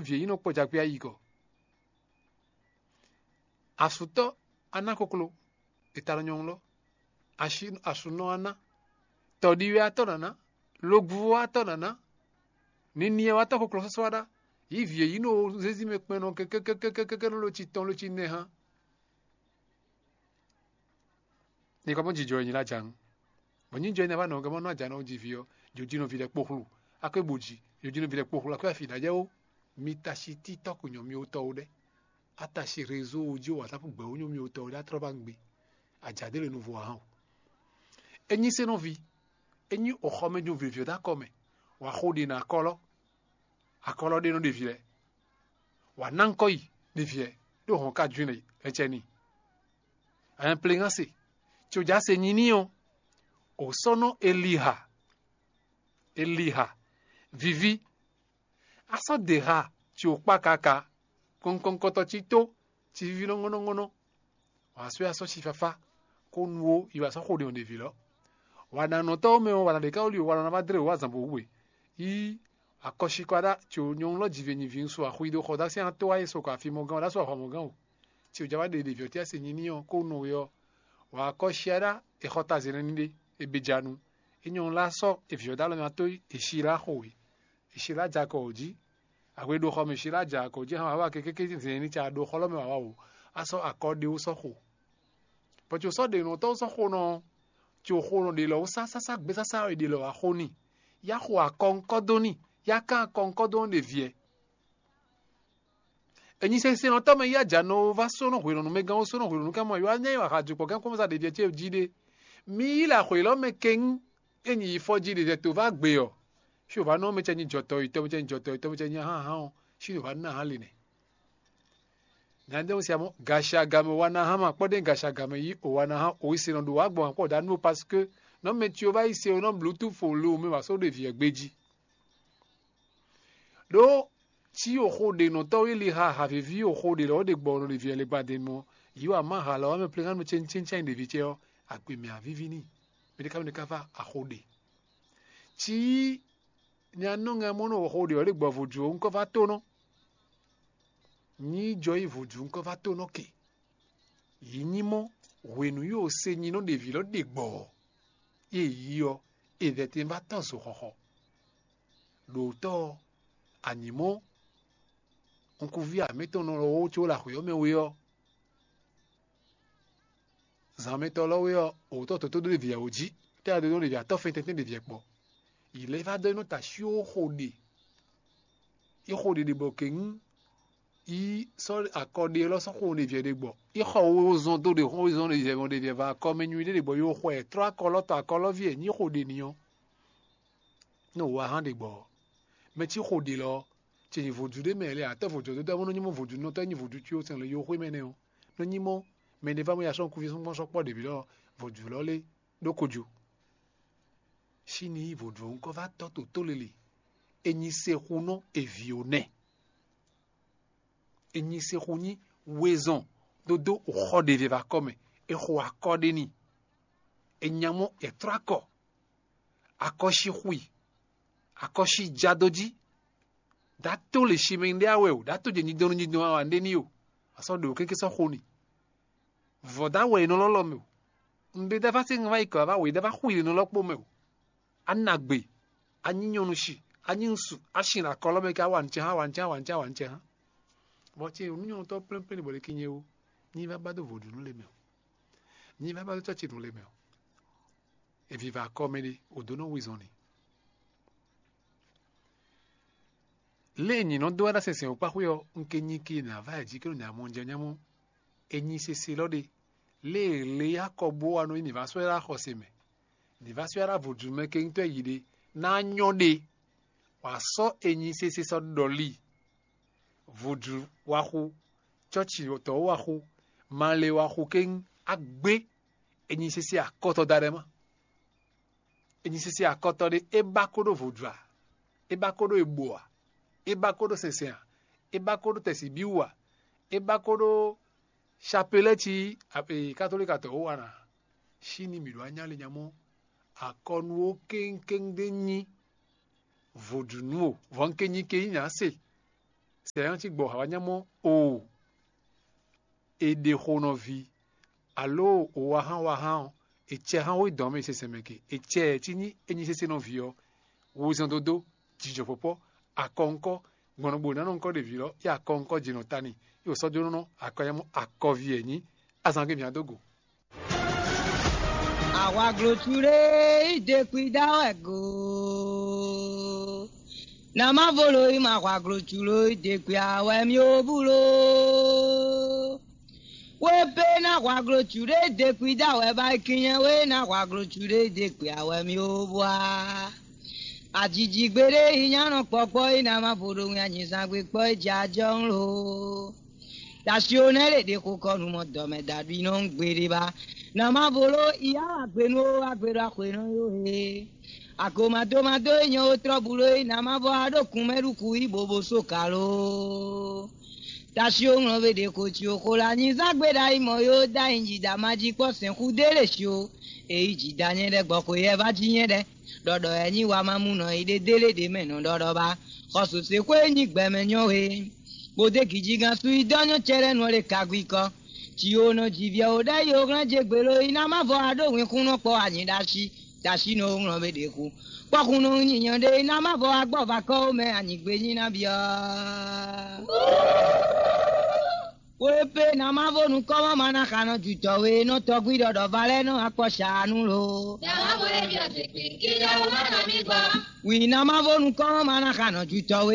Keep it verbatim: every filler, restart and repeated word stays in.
vǐ e nyí nɔ kpɔjagbe ayi gɔ́. Asutɔ́ aná koklo, è ta nɔ nyɔ̌nu lɔ. Ashi asunɔ aná, tɔɖiwɛ atɔ́ nǎná, logbuvɔ atɔ́ nǎná, niniɛ atɔ́ koklo sɔ́sɔ́ aɖá, yǐ vǐ e nyí nɔ zézí mɛ kpɛn nɔ kɛkɛkɛkɛkɛ nɔ lo ci tɔn lo ci nɛ hán. Ní kɔ mɔ jijɔ e nyi la jǎn. Bɔ nyí jɔ énɛ́ wá nɔ gɔ́ mɔ nɔ ajǎ nɔ ji vǐ ɔ́, jǒjínɔ ví lɛ́ɛ kpó xlu. Akwé bo ji, jǒjínɔ ví lɛ́ɛ kpó xlu akwé afi ɖajɛ ó. Mi ta si títɔ́ ko nyɔ mi wótɔ́ ó ɖɛ́. A ta si rézo ó jí ó wǎtápú gbɛ̌ ó nyɔ mi wótɔ́ ó ɖɛ́ a tlɔ́ ba gbe. Ajǎ ɖé le nuvo ǎ hán o. É nyí sénɔ́ví, é nyí oxɔmɛjun vǐvǐ ɔ́ dó akɔ mɛ, wǎ xo ɖi nɔ akɔlɔ, akɔlɔ ɖé nɔ ɖe vǐ lɛ́ɛ. Wǎ ná ŋkɔ yi ɖe vǐ lɛ́ɛ, ɖó hɔn ka jwin lɛ cɛ n'i. Ɛn pleŋase, tso ja se nyi n'i ɔ́, o sɔ́ nɔ Eliha, Eliha, viví, a sɔ́ de ha tso kpá kaka, kɔnkɔnkɔtɔ cí tó, cí víví nɔ́ ŋɔ́nɔ́ ŋɔ́nɔ́. Wǎ sɔ́ ya sɔ́ si fafá, kó nu ó yi wǎ sɔ́ xo ɖě ɔ́ ɖě vǐ lɔ. Wǎ ná nɔ tɔ́ mɛ ɔ́, wǎ ná ɖě ká wlí o, wǎ ná ná dlé o wǎ zǎn bó wú we. Yí akɔsíkɔ aɖá tso nyɔ̌nu lɔ jive nyi vǐ ŋsu axwi ɖo xɔ dó así ató wá yi sokɔ afi mɔgán ɔ́ ɖó asú ahwa mɔgán o. Tí o ja wá ɖe ɖevi ɔ́ tí a se nyi n'i ɔ́ kó nɔ we ɔ́, wǎ akɔsí aɖá è xɔ tazɛn n'i ɖé, è be ja nu. É nyɔ̌nu lɛ́ɛ sɔ́ è vǐ ɔ́ dó alɔ mɛ ató yi è si lá xo we. È si lá ja kɔ wǒ jí. Ahwe ɖo xɔ mɛ si lá ja kɔ jí hán wǎ wá kékéké zɛn ní ca ɖo xɔ lɔ mɛ wǎ wá wǒ. A sɔ́ akɔ ɖé wó sɔ́ xo. Bɔ tso sɔ́ ɖe nɔ tɔ́ sɔ́ xo nɔ, tso xo nɔ ɖe lɔ wó sásásá gbésásá e ɖe lɔ wá xo n'i. Yá xo akɔ ŋkɔ dó n'i, yá kán akɔ ŋkɔ dó nɔ ɖe viɛ. Enyi sɛnsɛn ɔ́ tɔ́ mɛ yí ajǎ nɔ wó vá sónɔ hwelɔ̌nu mɛ gán wó sónɔ hwelɔ̌nu ká mɔ yó wá nyá yi wǎ ha jukpɔ́ gán kpɔ́n zá ɖeví ɔ́ ce jí ɖé. Mi yí lɛ axwě lɔ mɛ kɛ́ŋ, é nyi yi fɔ jí ɖe zɛ tó vá gbe ɔ́, xí wǒ vá nɔ mɛ cɛ nyi jɔtɔ́ yi tɔ́ mɛ cɛ nyi jɔtɔ́ yi tɔ́ mɛ cɛ nyi hán hán ɔ́, xí wǒ vá ná hán le nɛ. Nyadéwun sia mɔ gashi agamɛ wa ná hán ma kpɔ́ ɖe gashi agamɛ yí o wa ná hán o yi se nɔ ɖo wá gbɔn akpɔ ɖa nú o parce que nɔ mɛ tyo vá yi se o nɔ bluetooth o lo mɛ wá só ɖe vǐ ɛ gbé jí. Ɖó cí oxo ɖe nɔtɔ́ wí li ha havíví oxo ɖe lɔ̌ ɖe gbɔ nɔ ɖe vǐ ɛ le gbadenu ɔ́, yǐ wa má ha lɔ ɔ́ mɛ pleŋánu cɛ́ncɛ́ncɛ́n ɖeví ce ɔ́, agbe mɛ avíví n'i. Mɛ ɖé ká mɛ ɖé ká vá axo ɖe. Cí nya nɔ ŋɛ mɔ nɔ oxo ɖe ɔ́ ɖe gbɔ vodú ɔ́ ŋkɔ vá tónɔ. Nyí jɔ yi vodú ŋkɔ vá tónɔ ke. Yǐ nyí mɔ hwenu yi o se nyi nɔ ɖeví lɔ ɖe gbɔ ɔ́, ée yí ɔ́, è vɛ̌ tɛn vá tɔ́ zo xɔxɔ. Ɖo tɔ́ ɔ́, a nyǐ mɔ nukúnví amǐtɔn nɔ lɔ wó có ɖo axwě ɔ́ mɛ we ɔ́, zǎnmɛtɔ́ lɔ we ɔ́, òwútɔ́ tɔ́ tó ɖó ɖe vǐ ɛ wǒ jí, tɛ́ a ɖó ɖe vǐ atɔ́ fɛn tɛ́ntɛ́n ɖe vǐ ɛ kpɔ́. Yǐ lɛ́ vá dó é nɔ ta shyó xo ɖe. É xo ɖe ɖe bɔ kɛ̌ŋ yi sɔ́ akɔ ɖe lɔ sɔ́ xo ɖe vǐ ɛ ɖe gbɔ. É xɔ wozɔn dó ɖe xɔ wozɔn ɖe vǐ ɛ mɔ ɖe vǐ ɛ vá akɔ mɛ nyuɖé ɖe gbɔ yó xɔ ɛ trɔ́ akɔ lɔ tɔ akɔ lɔ ví ɛ nyí xo ɖe ni ɔ́. Nɔ wǎ hán ɖe gbɔ ɔ́, mɛ cí xo ɖe lɔ ɔ́, ce nyi vodú ɖé mɛ lɛ atɔ́ vodú ɔ́ dó dó amɔ́ nɔ nyí mɔ vodú nɔ tɔ́ nyi vodú cí ó sɛn lɔ yó xwé mɛ nɛ́ ɔ́, nɔ nyí mɔ mɛ ɖé vá mɔ ya sɔ́ nukúnví sɔ́ kpɔ́n sɔ́ kpɔ́ ɖě ví lɔ vodú lɔ lé ɖó kojo. Sín ní vodú ɔ́ ŋkɔ vá tɔ́ to tó lele, è nyi sexunɔ èvǐ ó nɛ. È nyi sexu nyí wezɔn dó dó xɔ ɖě vɛ vɛ akɔ mɛ, è xo akɔ ɖé n'i. È nya mɔ è trɔ́ akɔ, akɔ́sí xwi, akɔ́sí já dó jí. Dǎ tó le simɛ ɖé awɛ o, dǎ tó jɛ nyidɔn nyidɔn awa ɖé ní o, a sɔ́ ɖo kéké sɔ́ xo n'i. Vɔ̌ dá wɛ è nɔ lɔ́lɔ́ mɛ o. Un ɖe dá vá sí ŋa wá yi kɔ wá wě dá vá xú yi nɔ lɔ́kpó mɛ o. A nagbe, a nyí nyɔ́nu shi, a nyí ŋsu, a sin akɔlɔ mɛ ká wa nǔ cɛ hã wa nǔ cɛ hã wa nǔ cɛ hã wa nǔ cɛ hã. Vɔ ce nǔnyɔ́nutɔ́ plɛ́nplɛ́n bɔ ɖe kí nyɛ ó, nyí vá ba dó vodúnú le mɛ o. Nyí vá ba dó cɔ́ci nǔ le mɛ o. È viva akɔ mɛ ɖé, wǒ dó nɔ wezɔn ni. Lě e nyǐ nɔ dó wɛ ɖó asɛnsɛn wǒkpáxwé ɔ́, un ke nyi ke nǎ vá ɛ jí kɛ́ɖo nya mɔ jɛ nyamɔ. È nyi sese lɔ ɖe. Lě e le akɔbó wa nɔ yi nǐ vá sɔ́ ɛ ɖó axɔse mɛ, nǐ vá sɔ́ ɛ ɖó vodúnmɛ kɛntɔ́ yi ɖe ná nyɔ́ ɖe. Wǎ sɔ́ è nyi sese sɔ́ ɖɔlí. Vodú wa xú, cɔ́ci tɔ́ wa xú, malɛ wa xú kéŋ, á gbé. È nyi sese akɔtɔ da ɖɛ má. È nyi sese akɔtɔ ɖé, é ba kó ɖó vodú a, é ba kó ɖó ebo a, é ba kó ɖó sɛnsɛn a, é ba kó ɖó tɛsibíwu a, é ba kó ɖó chapelɛ́ ci katolíkatɔ wó wa ná. Sín ní mǐ ɖó anyálényamɔ akɔnu ó kéŋkéŋ ɖé nyí vodúnú o, vɔ̌ un ke nyi ke nyí nya se. Sɛ ɔ́ cí gbɔ awǎ nyá mɔ oo, è ɖe xo nɔ ví, alo wǎhán wǎhán ɔ́, è cɛ hán wé dɔn mɛ sɛsɛ mɛ ke, è cɛ ɛ cí nyí é nyí sésé nɔ ví ɔ́, wozɔn dódó, jijɔ pɔpɔ, akɔ ŋkɔ, gbɔn nɔ bo ná nɔ ŋkɔ ɖe vǐ lɔ, yí akɔ ŋkɔ jǐ nɔ ta n'i, yí wǒ sɔ́ jó nɔ akɔ nyá mɔ akɔví ɛ nyí, azan gé mǐ á dó go. Ahwaglocu ɖé yi de kpi dá wɛ go. Na má vo lo yi ma ahwaglocu lo yi de kpi awɛ mi o bu lo. Wé pé na ahwaglocu ɖé de kpi dá wɛ ba yi kinyɛ wé na ahwaglocu ɖé de kpi awɛ mi o bu a. Ajijigbe ɖé yi nya nɔ kpɔkpɔ yi na má vo ɖo ŋɛ anyizangbe kpɔ yi jɛ ajɔ ŋlo. Tashi o nɛ ɖe ɖe xo kɔ nu mɔ dɔmɛ daɖu nɔ gbeɖe ba. Na ma vo lo iya wa gbe nu o wa gbe ɖo axwe nɔ yo he. Agomadomado e nyɔ o trɔ bu lo e na ma vɔ a ɖo kun mɛ ɖu ku yi bobo so ka lo. Tashi o ŋlɔ ve ɖe ko ci o xo la nyi zan gbe ɖa yi mɔ yo da yi ji da ma ji kpɔ sɛn xu de le shi o. E yi ji da nyɛ ɖɛ gbɔ ko yɛ va ji nyɛ ɖɛ. Ɖɔɖɔ ɛ nyi wa ma mu nɔ yi ɖe délé ɖe mɛ nɔ ɖɔɖɔ ba. Xɔsu se xwe nyi gbɛmɛ nyɔ he. Kpodé gǐjígán sú yi dɔ́ nyɔ́ cɛ́ɖɛ́nu ɔ́ ɖe kagwikɔ. Ci o nɔ ji viɛ o ɖɛ́ yi o hlɛ́n je gbelo yi ná má vɔ a ɖó wǐnxúnɔ kpɔ anyi ɖo asi. Tashi nɔ o ŋlɔ be ɖě xu. Kpɔ́xúnɔ nyinyɔ ɖé yi ná má vɔ a gbɔ va kɔ o mɛ anyigbe nyi ná byɔ́. Wé pé ná má vo nukɔ́mɔ ma ná xa nɔ jutɔ we nɔ tɔgwí ɖɔɖɔ va lɛ́ɛ nɔ akpɔ shaanu lo. Dàmá bo lè bí ọ̀sìn pín kí lẹ́wọ̀n má nà mí gbọ́. Wǐ ná má vo nukɔ́mɔ ma ná xa nɔ jutɔ we.